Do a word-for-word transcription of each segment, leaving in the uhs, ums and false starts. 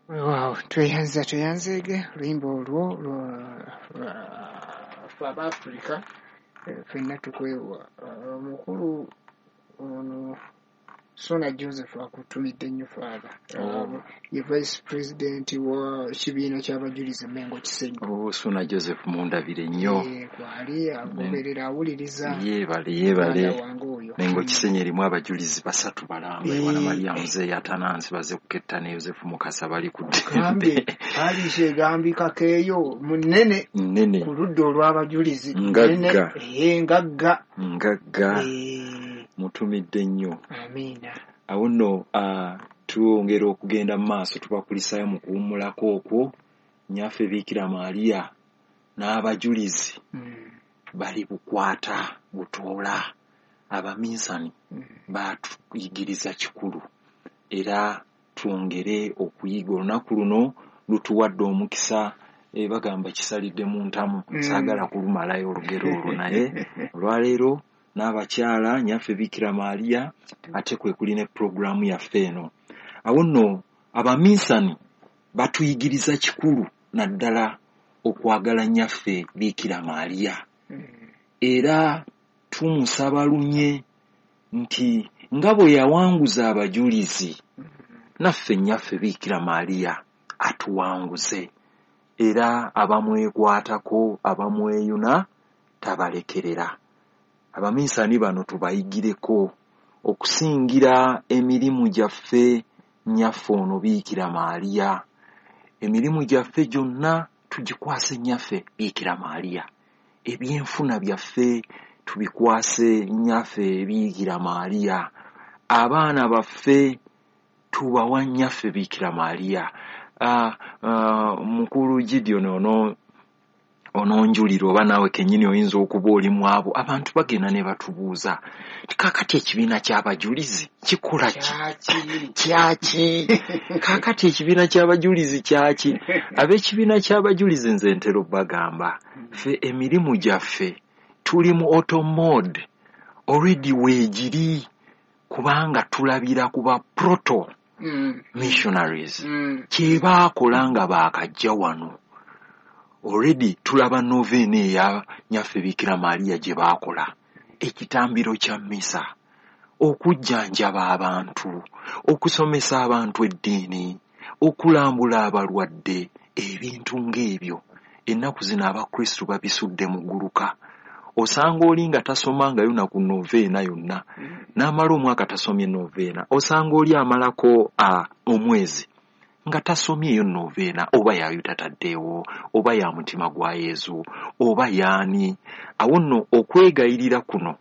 Wow, tweyanza tweyanzeege oluyimba olwo ffe Abaafrika ffenna tukwewa. Omukulu ono Sona Joseph akutumidde nnyo Father. Oh. Ye Vice President wa kibiina ky'abajulizi Mengo Kisenyi. Oh, Sona Joseph mundabire nnyo. Eh, kwali agoberera awuliriza. Yeebale yeebale. Mengo Kisenyi erimu abajulizi basatu balamba. Eh. Wana Maria Muzeeyi Atanansi baze kuketta ne Yosefu Mukasa bali ku ddembe. Alisha egambikako eyo munene. Nnene. Ku ludda olw'abajulizi. Ngagga. Eh, ngagga. Ngagga. Eh. Mutumidde nnyo. Amiina. Awo nno uh, twongera okugenda mu maaso tubakulisaayo mu kuwummulako okwo Nnyaffe Biikira Maria n'abajulizi mm. bali bukwata butoola. Abaminsani mm. baatuyigiriza kikulu era twongere okuyiga. Olunaku luno lutuwadde omukisa, e, bagamba kisalidde mu ntamu. mm. Saagala kulumalayo olugero olwo, naye olwaleero n'abakyala Nnyaffe Biikira Maria ate kwe kuli ne pulogulaamu yaffe eno. Awo nno abaminsani batuyigiriza kikulu naddala okwagala Nnyaffe Biikira Maria. Era tumusaba lunye nti nga bwe yawanguza abajulizi, naffe Nnyaffe Biikira Maria atuwanguze, era abamwekwatako abamweyuna tabalekerera. Abaminsani bano tubayigireko okusingira emirimu gyaffe Nnyaffe ono Biikira Maria. Emirimu gyaffe gyonna tugikwase Nnyaffe Biikira Maria. Ebyenfuna byaffe tubikwase Nnyaffe Biikira Maria. Abaana baffe tubawa Nnyaffe Biikira Maria. Uh, uh, Mukulu Gideon ono ononjulira oba naawe kennyini oyinza okuba oli mu abo abantu bagenda ne batubuuza nti kaakati ekibiina ky'abajulizi kikola ki? Kyaki? Kaakati ekibiina ky'abajulizi kyaki? Ab'ekibiina ky'abajulizi nze ntera obbagamba ffe emirimu gyaffe tuli mu auto mode already weegiri, kubanga tulabira ku ba proto missionaries kye baakola nga baakajja wano. Already tulaba novena eya Nnyaffe Biikira Maria gye baakola, ekitambiro kya mmisa, okujjanjaba abantu, okusomesa abantu eddiini, okulambula abalwadde, ebintu ng'ebyo. Ennaku zino Abakristu babisudde mu gguluka. Osanga oli nga tasomangayo na ku noveena yonna, n'amala omwaka tasomye noveena. Osanga oli amalako uh, omwezi nga tasomyeyo noveena, oba yayuta taddeewo, oba ya mutima gwa Yezu, oba yaani. Awo nno okwegayirira kuno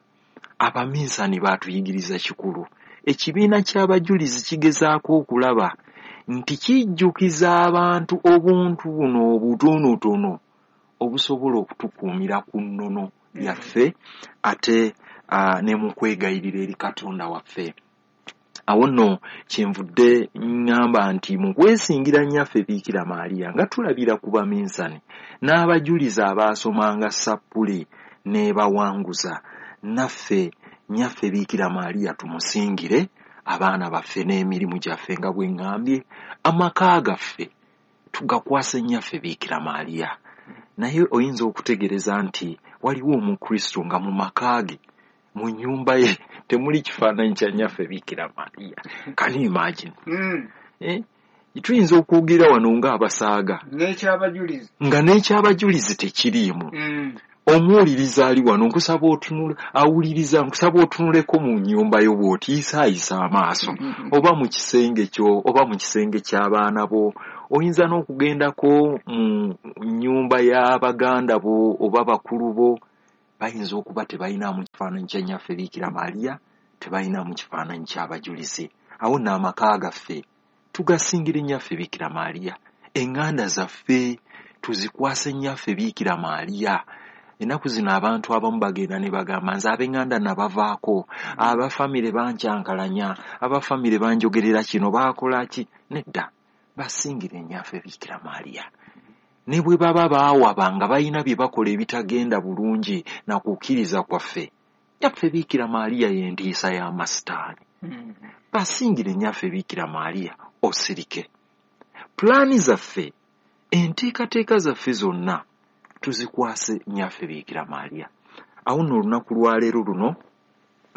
abaminsani baatuyigiriza kikulu. Ekibiina ky'abajulizi kigezaako okulaba nti kijjukiza abantu obuntu buno obutonotono obusobola okutukuumira ku nnono yaffe ate uh, ne mu kwegayirira eri Katonda waffe. Awo nno kyenvudde ŋŋamba nti mu kwesingira Nnyaffe Biikira Maria nga tulabira ku baminsani n'abajulizi abaasomanga sappule n'ebawanguza, naffe Nnyaffe Biikira Maria tumusingire abaana baffe n'emirimu gyaffe nga bwe ŋŋambye, amaka gaffe tugakwase Nnyaffe Biikira Maria. Naye oyinza okutegereza nti waliwo Omukristo nga mu maka ge, mu nnyumba ye temuli kifaananyi kya Nnyaffe Biikira Maria. Can you imagine? Mm. Eh? Tuyinza okwogera wano ng'abasaaga n'ekyabajulizi nga n'ekyabajulizi tekiriimu. Mm. Omuwuliriza ali wano nkusaba otunule, awuliriza nkusaba otunuleko mu nnyumba yo bw'otiisaayisa amaaso, mm -hmm. oba mu kisenge kyo oba mu kisenge ky'abaana bo. Oyinza n'okugendako mu nnyumba y'abaganda bo oba bakulu bo, bayinza okuba tebalinamu kifaananyi kya Nnyaffe Biikira Maria, tebalinamu kifaananyi ky'abajulizi. Awo nno amaka gaffe tugasingira Nnyaffe Biikira Maria, eŋŋanda zaffe tuzikwase Nnyaffe Biikira Maria. Ennaku zino abantu abamu bagenda ne bagamba nze ab'eŋŋanda nabavaako, abafamire bankyankalanya, abafamire banjogerera kino, baakola ki? Nedda, basingire Nnyaffe Biikira Maria. Ne bwe baba baawaba nga balina bye bakola ebitagenda bulungi na kukkiriza kwaffe, Nnyaffe Biikira Maria y'entiisa y'amasitaani. Basingire Nnyaffe Biikira Maria osirike. Pulaani zaffe, enteekateeka zaffe zonna tuzikwase Nnyaffe Biikira Maria. Awo nno olunaku lwaleero luno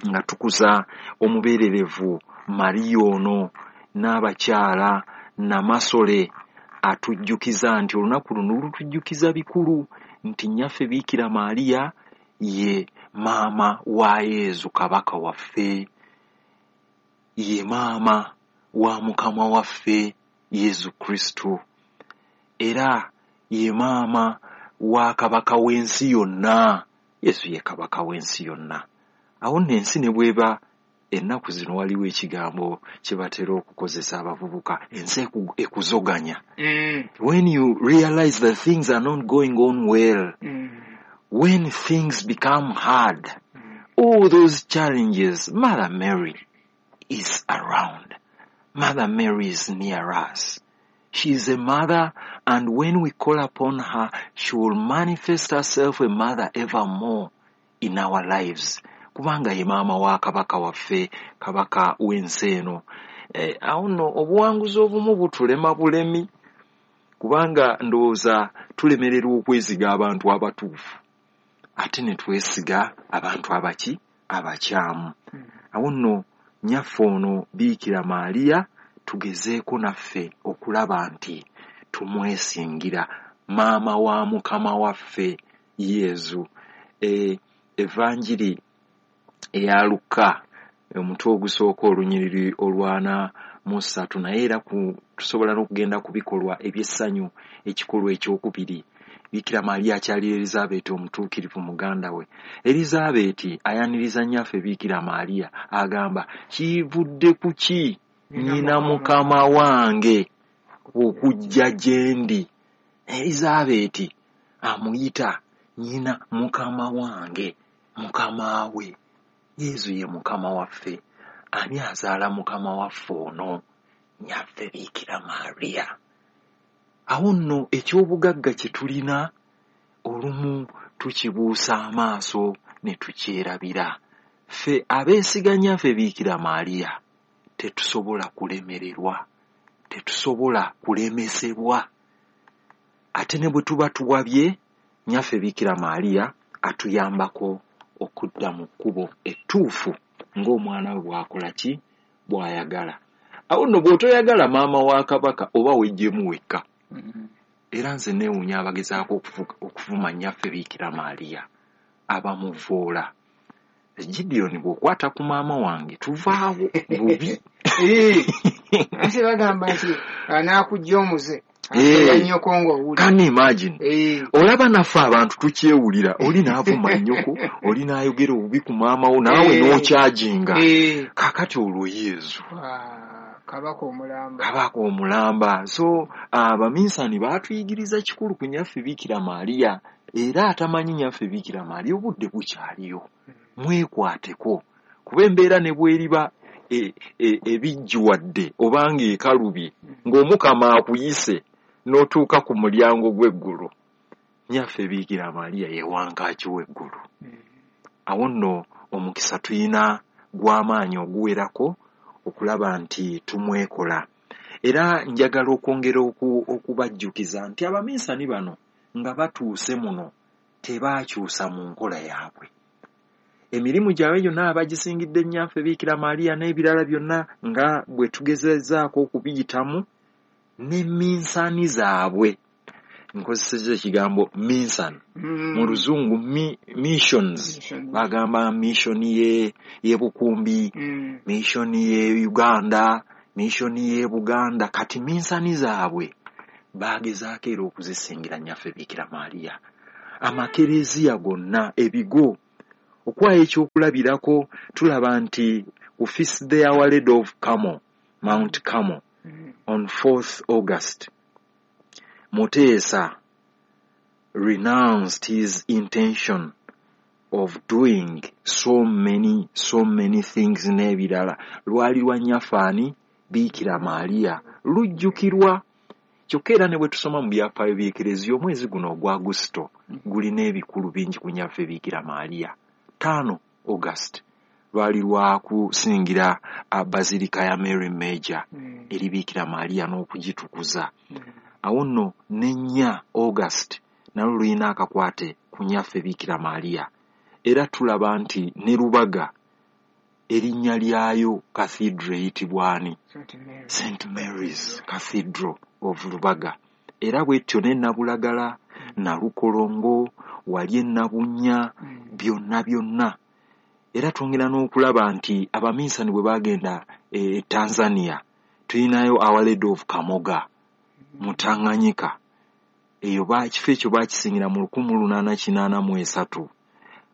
nga tukuza omubeererevu Maria ono n'abakyala Namasole, atujjukiza nti olunaku luno lutujjukiza bikulu nti Nnyaffe Biikira Maria ye maama wa Yezu kabaka waffe, ye maama wa Mukama waffe Yezu Kristo, era ye maama wa kabaka w'ensi yonna. Yesu ye kabaka w'ensi yonna. Awo nno ensi ne bw'eba ennaku zino waliwo ekigambo kye batera okukozesa abavubuka, ensi ekuzoganya. Mm. When you realize that things are not going on well, mm. when things become hard, mm. all those challenges, Mother Mary is around. Mother Mary is near us. She is a mother, and when we call upon her, she will manifest herself a mother evermore in our lives. Kubanga ye maama wa kabaka waffe, kabaka w'ensi eno. Eh, awo nno obuwanguzi obumu butulema bulemi, kubanga ndowooza tulemererwa okwesiga abantu abatuufu, ate ne twesiga abantu abaki abakyamu. Awo nno Nnyaffe ono Biikira Maria tugezeeko naffe okulaba nti tumwesingira, maama wa Mukama waffe Yezu. E, Evanjiri eya Luka omutwe ogusooka olunyiriri olwana mu ssatu, naye era tusobola n'okugenda ku bikolwa eby'essanyu ekikolwa ekyokubiri. Biikira Maria akyalira Elizabeeti omutuukirivu muganda we. Elizabeeti ayaniriza Nnyaffe Biikira Maria, agamba, kivudde ku ki nnyina Mukama wange okujja gye ndi? Elizabeeti amuyita nnyina Mukama wange, Mukama we. Yezu ye Mukama waffe. Ani azaala Mukama waffe ono? Nnyaffe Biikira Maria. Awo nno eky'obugagga kye tulina olumu tukibuusa amaaso ne tukyerabira. Ffe abeesiga Nnyaffe Biikira Maria tetusobola kulemererwa, tetusobola kulemesebwa. Ate ne bwe tuba tuwabye, Nnyaffe Biikira Maria atuyambako okudda mu kkubo ettuufu ng'omwana we bw'akola ki bw'ayagala. Awo nno bw'otoyagala maama wa kabaka oba weggyemu wekka. Era nze neewuunya abagezaako okuvuma Nnyaffe Biikira Maria abamuvoola. Gideon, bw'okwata ku maama wange tuvaawo bubi. Anti bagamba nti anaakujja omuze. Can you imagine? Olaba naffe abantu tukyewulira, oli n'avuma nnyoko, oli n'ayogera obubi ku maama wo, naawe n'okyajinga. Kaakati olwo Yezu kabaka omulamba, kabaka omulamba. So abaminsani baatuyigiriza kikulu ku Nnyaffe Biikira Maria, era atamanyi Nnyaffe Biikira Maria obudde bukyaliyo, mwekwateko, kuba embeera ne bw'eriba ebijjuwadde obanga ekalubye ng'Omukama akuyise n'otuuka ku mulyango gw'eggulu, Nnyaffe Biikira Maria ye wankaaki w'eggulu. Awo nno omukisa tuyina gw'amaanyi oguwerako okulaba nti tumwekola. Era njagala okwongera okubajjukiza nti abaminsani bano nga batuuse muno tebaakyusa mu nkola yaabwe. Emirimu gyabwe gyonna abagisingidde Nnyaffe Biikira Maria n'ebirala byonna nga bwe tugezezaako okubiyitamu, ne minsani zaabwe. Nkozesezza ekigambo minsani mu Luzungu mi, missions. Bagamba mission ye ye Bukumbi, mm. mission ye Uganda, mission ye Buganda. Kati minsani zaabwe bagezaako era okuzisingira Nnyaffe Biikira Maria. Amakereziya gonna, ebigo, okwayo ekyokulabirako tulaba nti ku Feast Day Our Lady of Carmel, Mount Carmel, mm. on fourth August, Mutesa renounced his intention of doing so many, so many things n'ebirala. Lwali lwa Nnyaffe ani? Biikira Maria. Lujjukirwa. Kyokka era ne bwe tusoma mu byafaayo by'Ekereziya, omwezi guno ogwa Agusito gulina ebikulu bingi ku Nnyaffe Biikira Maria. Ttaano August, lwali lwakusingira Basilica ya Mary Major Mm. eri Biikira Maria n'okugitukuza. Mm. Awo nno n'ennya August nalwo lulina akakwate ku nnyaffe Biikira Maria. Era tulaba nti ne Lubaga erinnya lyayo cathedral eyitibwa ani? Saint Mary. Saint Mary's Cathedral of Lubaga. Era bwetyo ne Nabulagala, Nalukolongo, wali e Nabunnya, Mm. byonna byonna. Era twongera n'okulaba nti abaminsani bwe baagenda e Tanzania, tulinayo Our Lady of Kamoga mu Tanganyika. Eyo ba ekifo ekyo baakisingira mu lukumi lunaana kinaana mu esatu.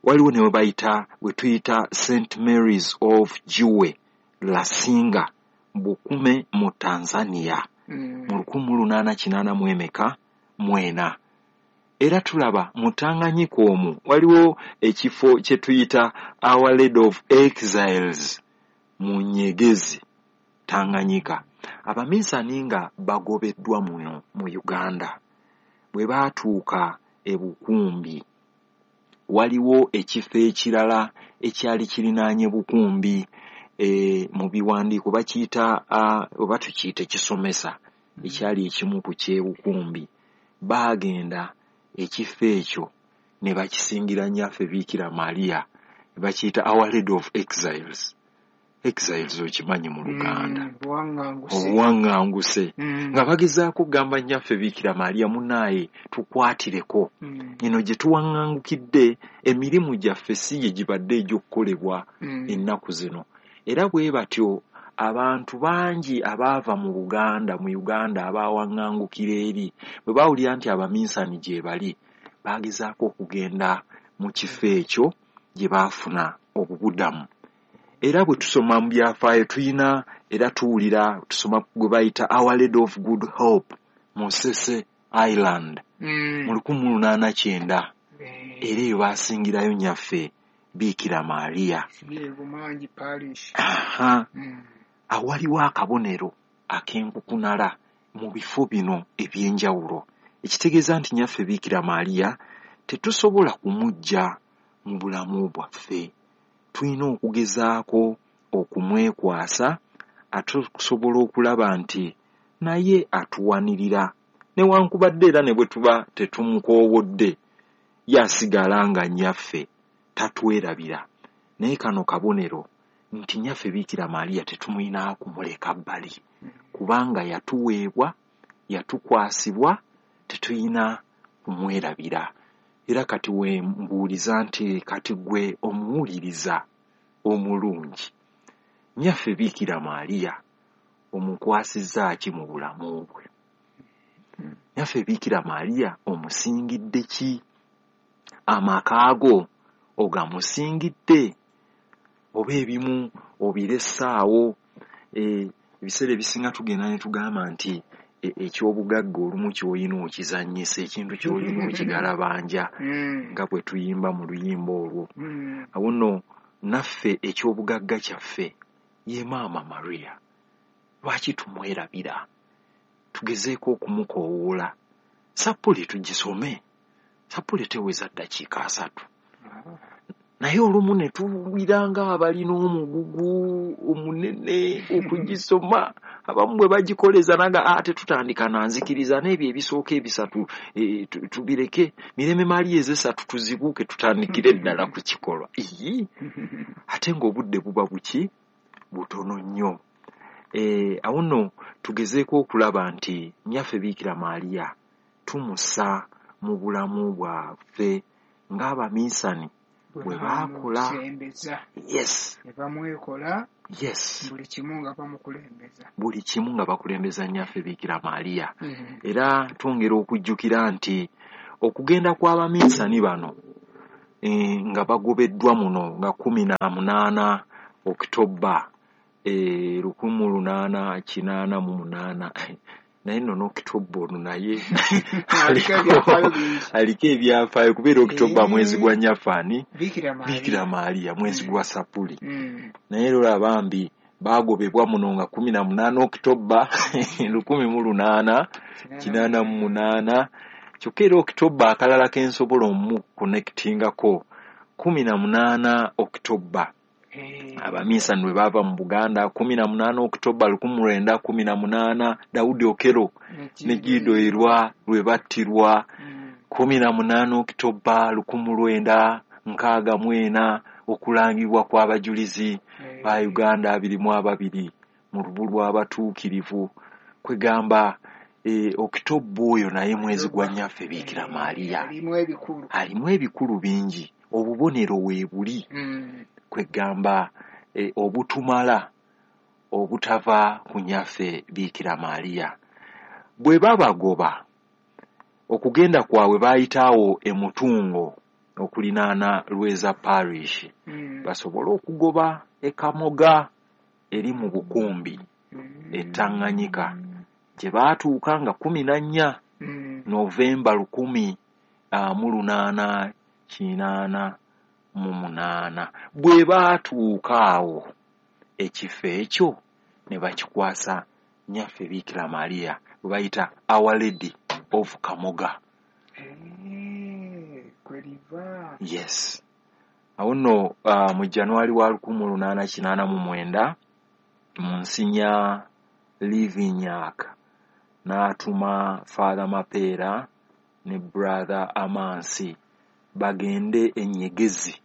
Waliwo ne we bayita we tuyita Saint Mary's of Jiwe Lasinga Bukume mu Tanzania Mm. mu lukumi lunaana kinaana mu emeka mu ena. Era tulaba mu Tanganyika omwo waliwo ekifo kye tuyita Our Lady of Exiles mu Nyegezi Tanganyika. Abaminsani nga bagobeddwa muno mu Uganda bwe baatuuka e Bukumbi, waliwo ekifo ekirala ekyali kirinaanye Bukumbi, e, mu biwandiiko bakiyita uh, oba tukiyite kisomesa ekyali ekimu ku ky'e Bukumbi. Baagenda ekifo ekyo ne bakisingira nnyaffe Biikira Maria, ne bakiyita Our Lady of Exiles. Exiles okimanyi mu Luganda. Mm, buwaŋŋanguse. Obuwaŋŋanguse. Mm. Nga bagezaako okugamba nnyaffe Biikira Maria, munnaaye tukwatireko. Mm. Eno gye tuwaŋŋangukidde emirimu gyaffe si gye gibadde egy'okukolebwa Mm. ennaku zino. Era bwe batyo abantu bangi abaava mu Buganda, mu Uganda abaawaŋŋangukira eri, bwe baawulira nti abaminsani gye bali, baagezaako okugenda mu kifo ekyo gye baafuna obubudamu. Era bwe tusoma mu byafaayo tuyina era tuwulira tusoma gwe bayita Our Lady of Good Hope mu Ssese Island Mm. mu lukumi lunaana kyenda. Eh, Era eyo baasingirayo nnyaffe Biikira Maria. Sibye Bumangi Parish. Aha. Mm. Awaliwo akabonero ak'enkukunala mu bifo bino eby'enjawulo, ekitegeeza nti nnyaffe Biikira Maria tetusobola kumuggya mu bulamu bwaffe. Tulina okugezaako okumwekwasa ate okusobola okulaba nti naye atuwanirira, newankubadde era ne bwe tuba tetumukoowodde, ye asigala nga nnyaffe tatwerabira. Naye kano kabonero nti nnyaffe Biikira Maria tetumulina kumuleka bbali, kubanga yatuweebwa, yatukwasibwa, tetulina kumwerabira. Era kati we mbuuliza nti kati ggwe omuwuliriza omulungi, nnyaffe Biikira Maria omukwasizza ki mu bulamu bwe? Nnyaffe Biikira Maria omusingidde ki? Amaka go ogamusingidde? Oba ebimu obiressaawo? E, ebiseera ebisinga tugenda ne tugamba nti e, eky'obugagga olumu ky'olina okizannyisa, ekintu ky'olina okigalabanja Mm. nga bwe tuyimba mu luyimba olwo. Mm. Awo nno naffe eky'obugagga kyaffe ye Maama Maria. Lwaki tumwerabira? Tugezeeko okumukoowoola. Sappule tugisome. Sappule teweza ddakiika asatu. Naye olumu ne tuwulira ng'abalina omugugu omunene okugisoma. Abamu bwe bagikoleza naga ah, tetutandika na nzikiriza n'ebyo ebisooka ebisatu e, tubireke, Mirembe Maria ez'essatu tuzibuuke tutandikire ddala ku kikolwa. Ii, ate ng'obudde buba buki butono nnyo. E, awo nno tugezeeko okulaba nti nnyaffe Biikira Maria tumussa mu bulamu bwaffe ng'abaminsani bwe baakola. Bamusembeza. Yes. Ne bamwekola. Yes. Buli kimu nga bamukulembeza. Buli kimu nga bakulembeza nnyaffe Biikira Maria. Mm. Era twongera okujjukira nti okugenda kw'abaminsani bano e, nga bagobeddwa muno nga kkumi na munaana Okitoba e, lukumi lunaana kinaana mu munaana. Naye nno n'Okitoba ono naye Aliko ebyafaayo bingi. aliko ebyafaayo kubeera Okitoba Eh. mwezi gwa nnyaffe ani? Biikira Maria. Biikira Maria mwezi Mm. gwa Sapuli. Mm. Naye era olaba bambi baagobebwa muno nga kkumi na munaana Okitoba lukumi mu lunaana kinaana mu munaana. Kyokka era Okitoba akalala ke nsobola omukonectingako kkumi na munaana Okitoba Abaminsani lwe baava mu Buganda kumi na munaana Oktoba lukumi lwenda kumi na munaana, Daudi Okello ne Gido Erwa lwe battirwa kumi na munaana Oktoba lukumi lwenda nkaaga mu ena, okulangibwa kw'abajulizi ba Uganda abiri mu ababiri mu lubu lw'abatuukirivu. Kwegamba e, Oktoba oyo naye mwezi gwa Nnyaffe Biikira Maria, alimu ebikulu bingi, obubonero weebuli mm. Kwegamba e, obutumala obutava ku Nnyaffe Biikira Maria. Bwe babagoba okugenda kwabwe bayitaawo emutungo okulinaana Lweza Parish mm. basobole okugoba ekamoga eri mu Bukumbi mm. e Tanganyika gye baatuuka nga kumi na nnya mm. Novemba lukumi mu lunaana kinaana mu munaana. Bwe baatuuka awo ekifo ekyo ne bakikwasa Nnyaffe Biikira Maria bwe bayita Our Lady of Kamoga. Yes. Awo nno uh, mu January wa lukumi lunaana kinaana mu mwenda Monsignor Livignac n'atuma Father Mapeera ne Brother Amansi bagende enyegezi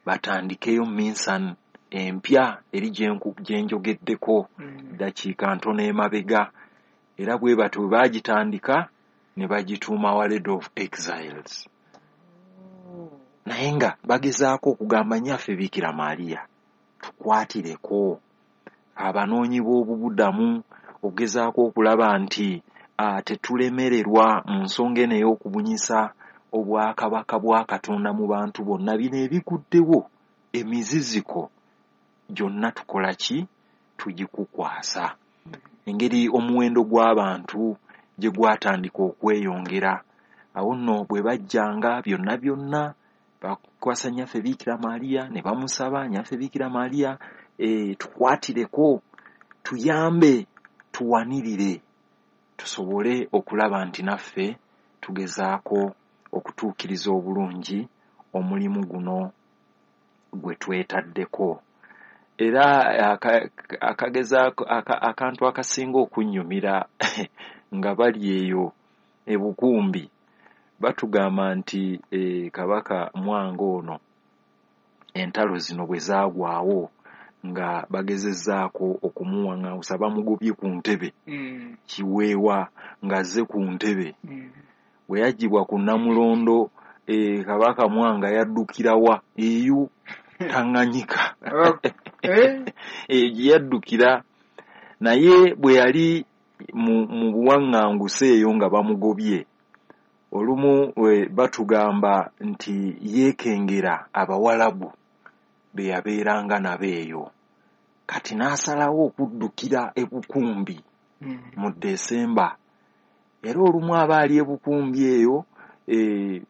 batandikeyo minsan empya eri gye njogeddeko ddakiika ntono emabega. Era bwe batyo bwe baagitandika ne bagituuma Our Lady of Exiles. Naye nga bagezaako okugamba Nnyaffe Biikira Maria tukwatireko abanoonyi b'obubudamu, ogezaako okulaba nti tetulemererwa mu nsonga eno ey'okubunyisa obwakabaka bwa Katonda mu bantu bonna. Bino ebiguddewo emiziziko gyonna tukola ki? Tugikukwasa. Engeri omuwendo gw'abantu gye gwatandika okweyongera, awo nno bwe bajjanga byonna byonna bakwasa Nnyaffe Biikira Maria ne bamusaba, Nnyaffe Biikira Maria e, tukwatireko, tuyambe, tuwanirire, tusobole okulaba nti naffe tugezaako okutuukiriza obulungi omulimu guno gwe twetaddeko. Era akagezaako akantu akasinga okunnyumira nga bali eyo e Bukumbi, batugamba nti e, Kabaka Mwanga ono entalo zino bwe zaagwawo nga bagezezzaako okumuwaŋŋangusa, bamugobye ku ntebe mm. Kiweewa ng'azze ku ntebe mm. Bwe yaggyibwa ku Nnamulondo e, Kabaka Mwanga yaddukira wa? Eyo Tanganyika eyo gye yaddukira. Naye bwe yali mu, mu buwaŋŋanguse eyo nga bamugobye, olumu batugamba nti yeekengera Abawalabu be yabeeranga nabo eyo. Kati n'asalawo okuddukira e Bukumbi mu Desemba. Era olumu aba ali e Bukumbi eyo e,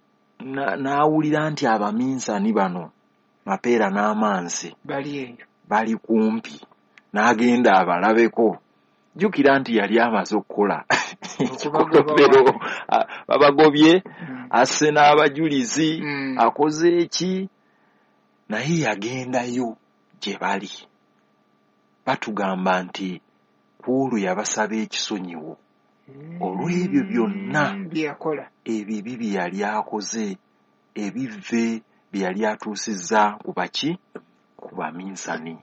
n'awulira nti abaminsani bano Mapeera n'Amansi bali kumpi, n'agenda abalabeko. Jjukira nti yali amaze okukola ekikolobero, babagobye, asse n'abajulizi, akoze eki, naye yagendayo gye bali. Batugamba nti ku olwo yabasaba ekisonyiwo olw'ebyo byonna ebibi bye yali akoze, ebivve bye yali atuusizza ku baki? Ku baminsani.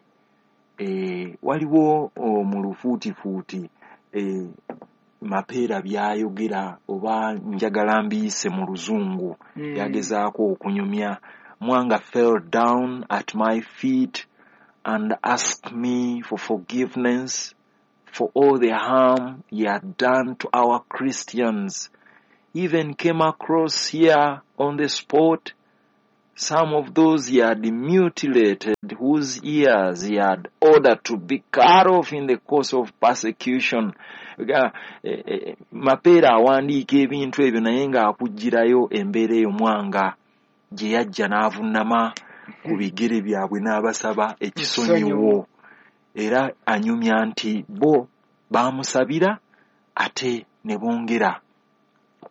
E, waliwo mu lufuutifuuti e, Mapeera by'ayogera, oba njagala mbiyise mu Luzungu, mm. yagezaako okunyumya. Mwanga fell down at my feet and asked me for forgiveness for all the harm he had done to our Christians. Even came across here on the spot some of those he had mutilated, whose ears he had ordered to be cut off in the course of persecution. Mapeera awandiika ebintu ebyo naye ng'akugirayo embeera eyo Mwanga gye yajja n'avunnama ku bigere byabwe n'abasaba ekisonyiwo. Era anyumya nti bo baamusabira ate ne bongera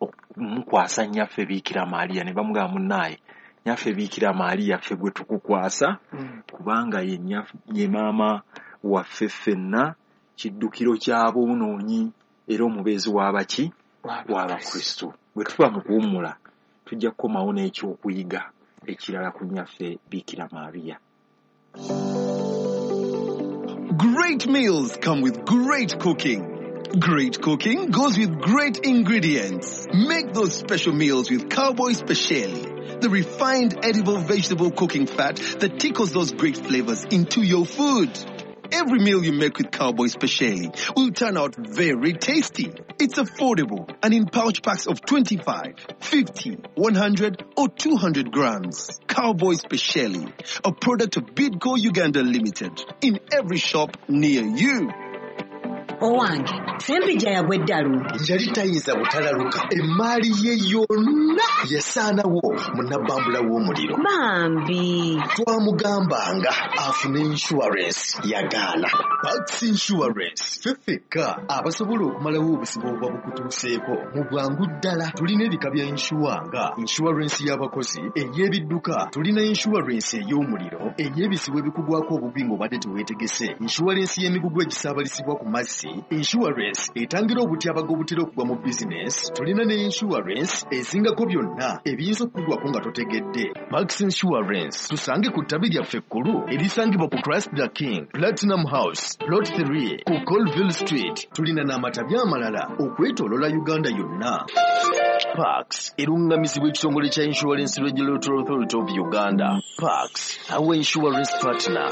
okumukwasa Nnyaffe Biikira Maria ne bamugamba, munnaaye Nyaffe Biikira Maria ffe gwe tukukwasa, Mm. kubanga ye nyaf- ye maama waffe ffenna, kiddukiro ky'aboonoonyi era omubeezi w'abaki w'Abakristo. Bwe tuba mu kuwummula tujja kukomawo n'ekyokuyiga ekirala ku Nnyaffe Biikira Maria. Great meals come with great cooking. Great cooking goes with great ingredients. Make those special meals with Cowboy Speciale, the refined edible vegetable cooking fat that tickles those great flavors into your food. Every meal you make with Cowboy Speciale will turn out very tasty. It's affordable and in pouch packs of twenty-five, fifty, one hundred or two hundred grams. Cowboy Speciale, a product of Bidco Uganda Limited, in every shop near you. Owange Sempijja yagwa eddalu. Yali tayinza butalaluka, emaali ye yonna yasaanawo mu nabbambula w'omuliro. Bambi. Twamugambanga afune insurance, yagaana. Pax Insurance ffe ffekka abasobola okumalawo obuzibu obuba bukutuuseeko mu bwangu ddala. Tulina ebika bya insure nga insurance y'abakozi, ey'ebidduka, tulina insurance ey'omuliro, ey'ebizibu ebikugwako obubi ng'obadde teweetegese, insurance y'emigugu egisaabalizibwa ku mazzi, insurance etangira obutyabaga obutera okugwa mu bizinesi, tulina ne insurance ezingako byonna ebiyinza okukugwako nga totegedde. Pax Insurance tusange ku ttabi lyaffe ekkulu erisangibwa ku Christ the King Platinum House Plot three ku Colville Street. Tulina n'amatabi amalala okwetooloola Uganda yonna. Pax eruŋŋamizibwa ekitongole kya Insurance Regulatory Authority of Uganda. Pax, our insurance partner.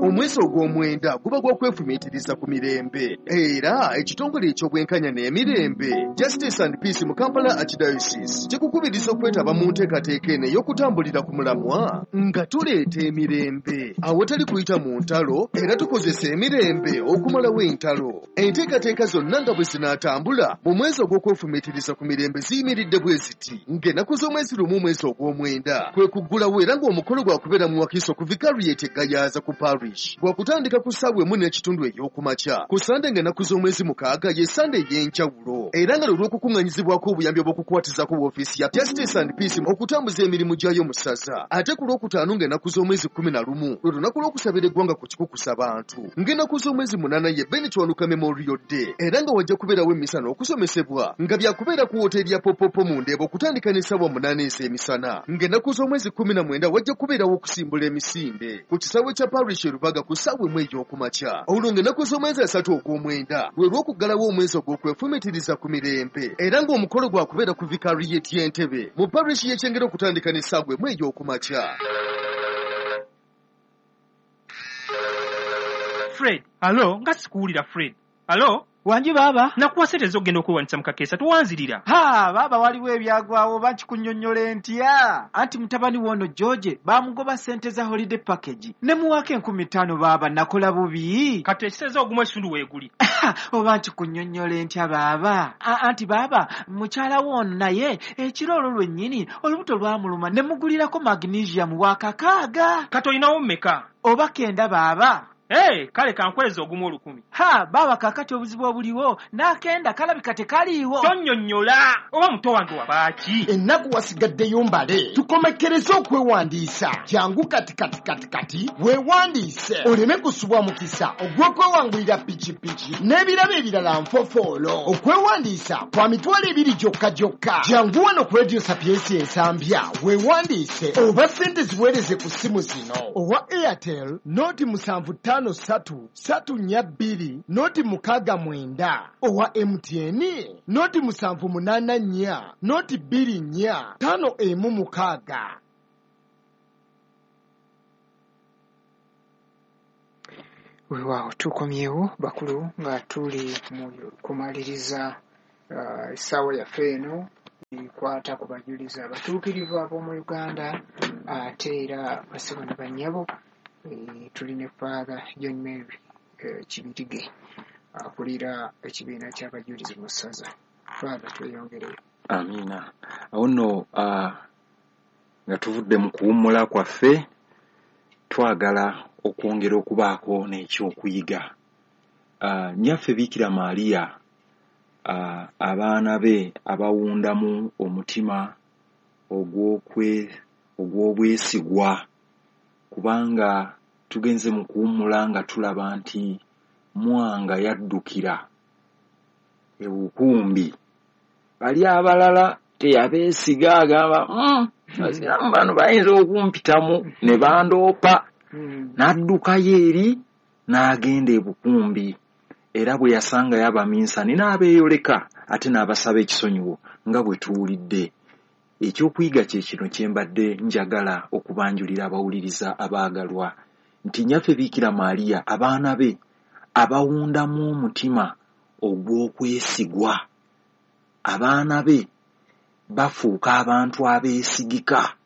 Omwezi ogw'omwenda guba gwa kwefumiitiriza ku mirembe, era ekitongole eky'obwenkanya n'emirembe Justice and Peace mu Kampala Archdiocese kikukubiriza okwetaba mu nteekateeka eno ey'okutambulira ku mulamwa nga tuleeta emirembe awatali kuyita mu ntalo, era tukozesa emirembe okumalawo entalo. Enteekateeka zonna nga bwe zinaatambula mu mwezi ogw'okwefumiitiriza ku mirembe ziyimiridde bwe ziti: ng'ennaku z'omwezi lumu omwezi ogw'omwenda kwe kuggulawo, era ng'omukolo gwakubeera mu Wakiso ku Vicariate Gayaza ku Parish, gwakutandika ku ssaawa emu n'ekitundu ey'okumakya. Ku Sande ng'ennaku z'omwezi mukaaga ye Sande ey'enjawulo, era nga lwe lw'okukuŋŋanyizibwako obuyambi obw'okukwatizako woofiisi ya Justice and Peace okutambuza emirimu gyayo mu ssaza. Ate ku Lwokutaano ng'ennaku z'omwezi kkumi na lumu lwe lunaku lw'okusabira eggwanga ku kikukusa bantu. Ng'ennaku z'omwezi munaana ye Ben Kiwanuka Memorial Day, era nga wajja kubeerawo emmisa n'okusomesebwa nga byakubeera ku woteeri ya Popopo mu Ndeeba okutandika n'essaawa munaana ez'emisana. Ng'ennaku z'omwezi kkumi na mwenda wajja kubeerawo okusimbula emisinde ku kisaawe kya Parish e Rubaga ku ssaawa emu ey'okumakya. Olwo ng'ennaku z'omwezi asatu ogw'omwenda lwe lw'okuggalawo omwezi ogw'okwefumiitiriza ku mirembe, era ng'omukolo gwakubeera ku Vicariate y'Entebbe mu Parish y'e Kyengera okutandika n'essaawa emu ey'okumakya. Fred, alo, nga sikuwulira Fred. Alo? Wangi baaba. Nakuwa ssente z'okugenda okwewandisa mu kakeesa, towanzirira. Ha, baaba waliwo ebyagwawo oba nkikunnyonnyola ntya? Anti mutabani w'ono George baamugoba ssente za holiday package. Ne muwaako enkumi ttaano baaba, nakola bubi. Kati ekiseeza ogumu ekitundu weeguli. Oba nkikunnyonnyola ntya baaba? Anti baaba, mukyala w'ono naye ekiro olwo lwennyini olubuto lwamuluma ne mugulirako magnesium wa kakaaga. Kati olinawo mmeka? Oba kenda baaba. Hey, kale kankweza ogumu olukumi. Ha, baaba kaakati obuzibu obuliwo n'akenda kalabika tekaliiwo. Tonnyonnyola oba muto wange wabaaki? Ennaku wasigaddeyo mbale, tukomekkereze okwewandiisa. Jangu kati kati kati kati weewandiise oleme kusubwa mukisa ogw'okwewangulira pikipiki n'ebirabo ebirala nfofoolo. Okwewandiisa kwa mitwalo ebiri gyokka gyokka. Jangu wano ku Radio Sapientia Ensambya weewandiise oba ssente ziweereze ku ssimu zino: owa Airtel noti musanvu ttaano ssatu ssatu nnya bbiri noti mukaaga mwenda, owa M T N noti musanvu munaana nnya noti bbiri nnya ttaano emu mukaaga. Weewaawo tukomyewo bakulu nga tuli mu kumaliriza uh, essaawa yaffe eno ekwata ku bajulizi abatuukirivu ab'omu Uganda, ate era bassebo ne bannyabo. E, tuli ne Father John Mary e, Kibirige akulira ekibiina ky'abajulizi mu ssaza. Father, tweyongereyo. Amiina. Awo nno uh, nga tuvudde mu kuwummula kwaffe, twagala okwongera okubaako n'ekyokuyiga. Uh, Nnyaffe Biikira Maria abaana be abawundamu omutima ogw'okwe ogw'obwesigwa, kubanga tugenze mu kuwummula nga tulaba nti Mwanga yaddukira ebukumbi, bali abalala teyabeesiga, agamba abasiraamu bano bayinza okumpitamu ne bandoopa, n'addukayo eri n'agenda ebukumbi. Era bwe yasangayo abaminsani n'abeeyoleka ate n'abasaba ekisonyiwo nga bwe tuwulidde. Ekyokuyiga kye kino kye mbadde njagala okubanjulira abawuliriza abaagalwa, nti Nnyaffe Biikira Maria abaana be abawundamu omutima ogw'okwesigwa. Abaana be bafuuka abantu abeesigika.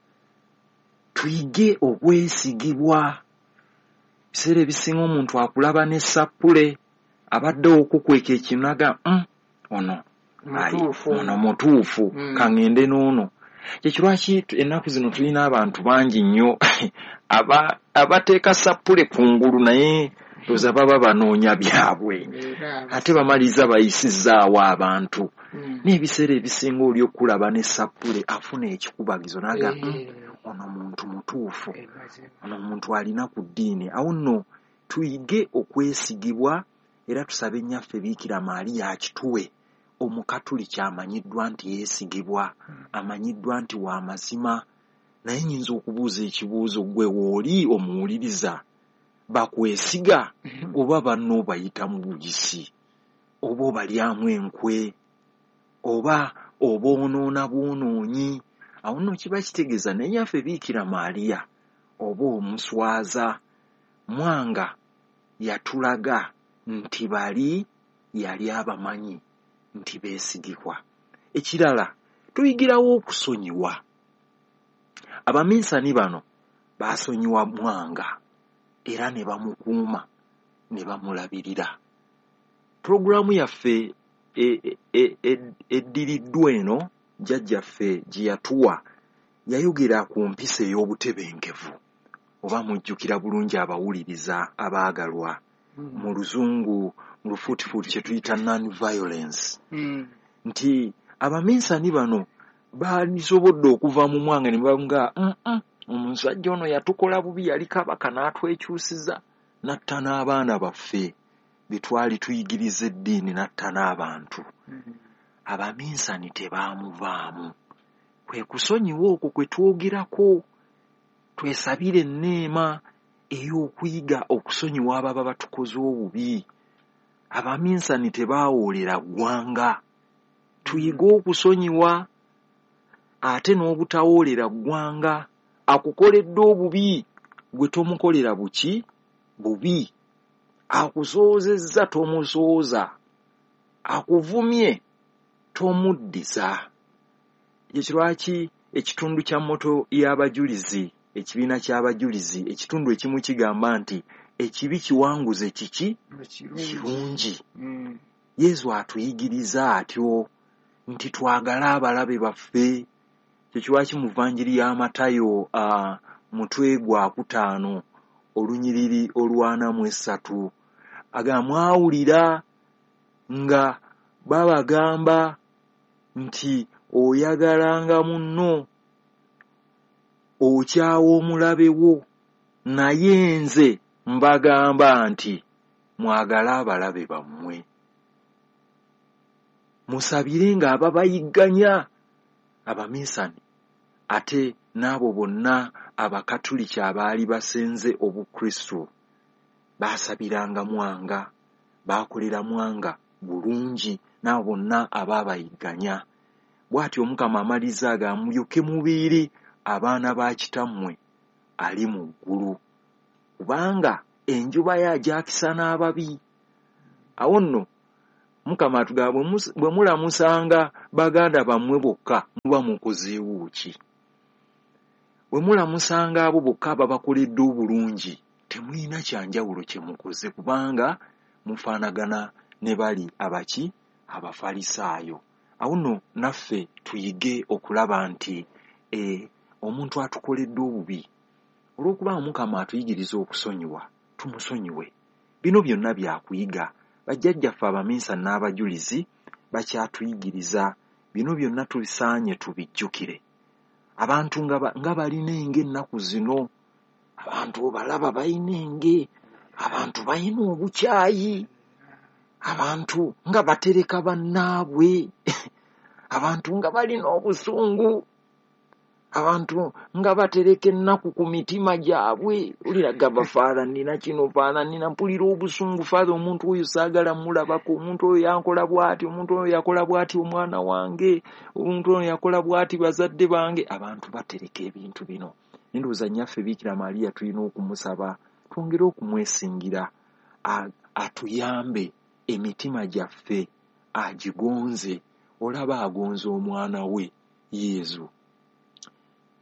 Tuyige okwesigibwa. Ebiseera ebisinga omuntu akulaba ne sappule, abadde okukweka ekinaga, ono ono mutuufu, kaŋŋende n'ono. Kyekyo lwaki ennaku zino tulina abantu bangi nnyo abateeka sappule kungulu, naye ndowooza baba banoonya byabwe, ate bamaliriza bayisizaawo abantu. N'ebiseera ebisinga oli okulaba ne sappule afuna ekikubagizo n'agamba ono muntu mutuufu, ono muntu alina ku ddiini. Awo nno tuyige okwesigibwa, era tusabe Nnyaffe Biikira Maria akituwe. Omukatuliki amanyiddwa nti yeesigibwa, amanyiddwa nti wa mazima. Naye nnyinza okubuuza ekibuuzo, ggwe w'oli omuwuliriza, bakwesiga oba banno obayita mu bugisi, oba obalyamu enkwe, oba oboonoona bwonoonyi? Awo nno kiba kitegeeza ne Nnyaffe Biikira Maria oba omuswaza. Mwanga yatulaga nti bali yali abamanyi nti beesigibwa. Ekirala, tuyigirawo okusonyiwa. Abaminsani bano baasonyiwa Mwanga era ne bamukuuma ne bamulabirira. Pulogulaamu yaffe eddiriddwa eno jjajjaffe gye yatuwa yayogera ku mpisa ey'obutebenkevu, oba mujjukira bulungi abawuliriza abaagalwa, mu luzungu mu lufuutifuuti kye tuyita non-violence, nti abaminsani bano baalisobodde okuva mu Mwanga ne baga omusajja ono yatukola bubi, yali kabaka n'atwekyusiza, n'atta n'abaana baffe be twali tuyigiriza eddiini, n'atta n'abantu. Abaminsani tebaamuvaamu. Kwe kusonyiwa okwo kwe twogerako. Twesabire enneema ey'okuyiga okusonyiwa ababa batukoze obubi. Abaminsani tebaawoolera ggwanga. Tuyige okusonyiwa ate n'obutawoolera ggwanga. Akukoledde obubi gwe tomukolera buki bubi, akusoozezza tomusooza, akuvumye tomuddiza. Ekyo lwaki ekitundu kya moto y'abajulizi, ekibiina ky'abajulizi, ekitundu ekimu kigamba nti ekibi kiwanguze kiki kirungi. Yesu atuyigiriza atyo nti twagale abalabe baffe. Kyekyo lwaki mu Vanjiri ya Matayo mutwe gwa kutaano olunyiriri olwana mu essatu agamba, mwawulira nga babagamba nti oyagalanga munno okyawa omulabe wo, naye nze mbagamba nti mwagale abalabe bammwe, musabirenga ababayigganya. Abaminsani ate n'abo bonna abakatuliki abaali basenze Obukristo baasabiranga Mwanga, baakolera Mwanga bulungi n'abo bonna abaabayigganya. Bw'atyo Omukama amaliriza agamba, mulyoke mubeere abaana ba kitammwe ali mu ggulu, kubanga enjuba ye agyakisa n'ababi. Awo nno Mukama atugamba, bwe mulamusanga baganda bammwe bokka muba mukozeewo ki? Bwe mulamusanga abo bokka ababakoledde obulungi temulina kyanjawulo kye mukoze, kubanga mufaanagana ne bali abaki Abafalisaayo. Awo nno naffe tuyige okulaba nti e, omuntu atukoledde obubi, olw'okuba Omukama atuyigiriza okusonyiwa, tumusonyiwe. Bino byonna byakuyiga. Bajjajjaffe abaminsani n'abajulizi Bakyatuyigiriza bino byonna, tubisaanye tubijjukire. Abantu nga balina enge ennaku zino, abantu obalaba balina enge, abantu balina obukyayi, abantu nga batereka bannaabwe, abantu nga balina obusungu, abantu nga batereka ennaku ku mitima gyabwe. Olira gamba faala nina kino, faala nina, mpulira obusungu faala, omuntu oyo saagala mulabako, omuntu oyo yankola bw'ati, omuntu oyo yakola bw'ati omwana wange, omuntu oyo yakola bw'ati bazadde bange. Abantu batereka ebintu bino. Ndowooza nnyaffe Biikira Maria tulina okumusaba twongere okumwesingira atuyambe emitima gyaffe agigonze. Olaba agonza omwana we Yezu,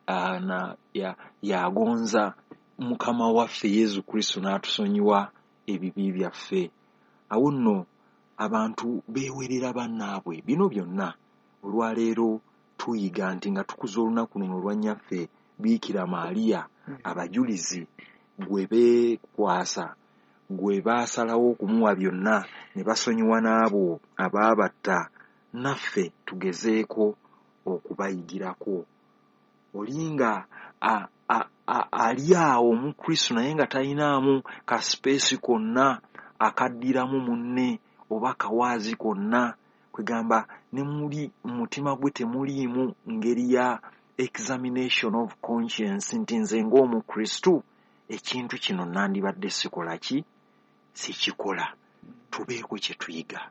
ana ya yagonza Mukama waffe Yezu Kristo n'atusonyiwa ebibi byaffe. Awo nno abantu beewerera bannaabwe. Bino byonna olwaleero tuyiga nti nga tukuza olunaku luno olwa nnyaffe Biikira Maria, abajulizi gwe beekwasa, gwe baasalawo okumuwa byonna ne basonyiwa n'abo abaabatta, naffe tugezeeko okubayigirako. Olinga ali awo mu Kristo naye nga talinaamu ka space konna akaddiramu munne oba kawaazi konna, kwegamba ne muli mutima gwe temuliimu ngeri ya examination of conscience nti nze ng'omukristo ekintu kino nandibadde sikola ki, sikikola. Tubeeko kye tuyiga.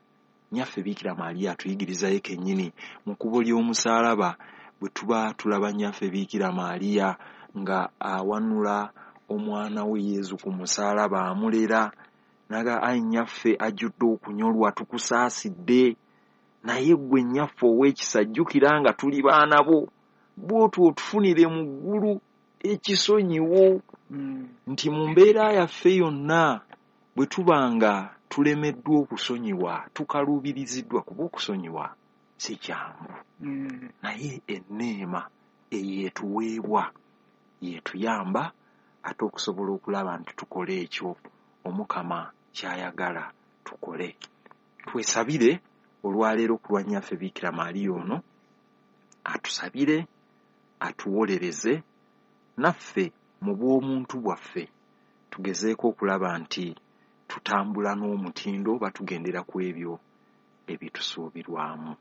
Nnyaffe Biikira Maria atuyigirizayo kennyini mu kkubo ly'omusaalaba. Bwe tuba tulaba nnyaffe Biikira Maria nga awanula omwana we Yezu ku musaalaba amulera, naga ayi nnyaffe ajjudde okunyolwa tukusaasidde, naye ggwe nnyaffe ow'ekisa jjukira nga tuli baana bo, bw'otwo otufunire mu ggulu ekisonyiwo. Nti mu mbeera yaffe yonna bwe tuba nga tulemeddwa okusonyiwa, tukaluubiriziddwa, kuba okusonyiwa si kyangu, naye enneema eyeetuweebwa yeetuyamba ate okusobola okulaba nti tukola ekyo Omukama ky'ayagala tukole. Twesabire olwaleero ku lwa nnyaffe Biikira Maria ono, atusabire, atuwolereze naffe mu bw'omuntu bwaffe tugezeeko okulaba nti tutambula n'omutindo oba tugendera ku ebyo ebitusuubirwamu.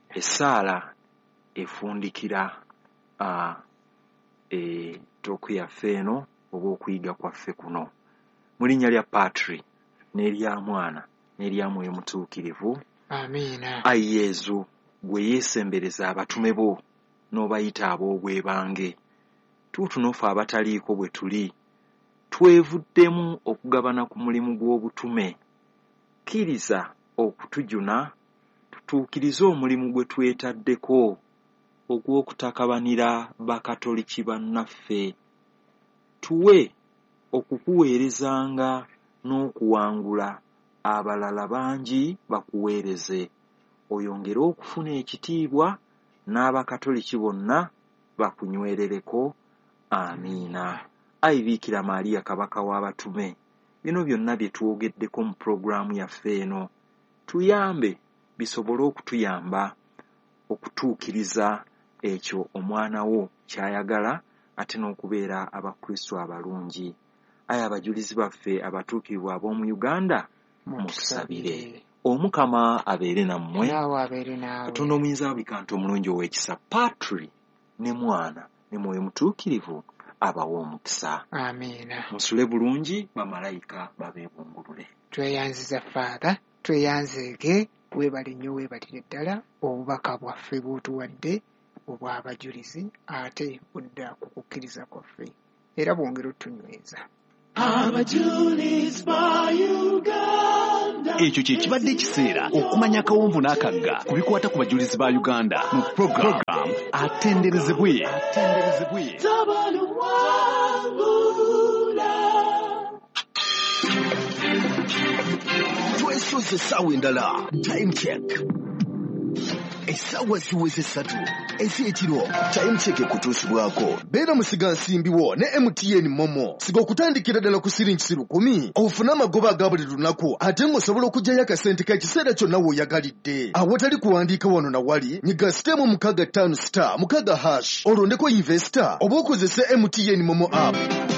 Essaala efundikira ettooku yaffe eno oba okuyiga kwaffe kuno. Mu linnya lya Patri n'erya Mwana n'erya Mwoyo Mutuukirivu, amiina. Ayi Yezu, gwe yeesembereza abatume bo n'obayita ab'obwebange, tuutuno ffe abataliiko bwe tuli twevuddemu okugabana ku mulimu gw'obutume. Kkiriza okutujuna tutuukirize omulimu gwe twetaddeko ogw'okutakabanira bakatoliki bannaffe. Tuwe okukuweerezanga n'okuwangula abalala bangi bakuweereze, oyongere okufuna ekitiibwa n'abakatoliki bonna bakunywerereko. Amiina. Ayi Biikira Maria Kabaka w'abatume, bino byonna bye twogeddeko mu pulogulaamu yaffe eno tuyambe bisobole okutuyamba okutuukiriza ekyo omwana wo ky'ayagala ate n'okubeera Abakristo abalungi. Ayi abajulizi baffe abatuukirivu ab'omu Uganda, mutusabire. Omukama abeere nammwe, naawe abeere naawe. Katonda omuyinza wa buli kantu omulungi ow'ekisa, Patri ne Mwana ne Mwoyo Mutuukirivu abawe omukisa. Amiina. Musule bulungi, bamalayika babeebungulule. Tweyanziza Faatha, tweyanzeege, weebale nnyo, weebalire ddala obubaka bwaffe bw'otuwadde obw'abajulizi, ate budda ku kukkiriza kwaffe era bwongera otunyweza. Abajulizi ba Uganda. Ekyo kye kibadde ekiseera okumanya akawonvu n'akagga ku bikwata ku bajulizi ba Uganda mu program Atenderezebwe. Twesoze essaawa endala. Time check. Essaawa ziweze ssatu ez'ekiro. Time Check ekutuusibwako Beera musigansimbi wo ne M T N MoMo. Siga okutandikira ddala ku siringi lukumi ofune amagoba aga buli lunaku, ate ng'osobola okuggyayo akasente k'ekiseera kyonna w'oyagalidde awatali kuwandiika wano na wali. Nyiga star mukaaga ttaano star mukaaga hash, olondeko investor oba okozese M T N MoMo app.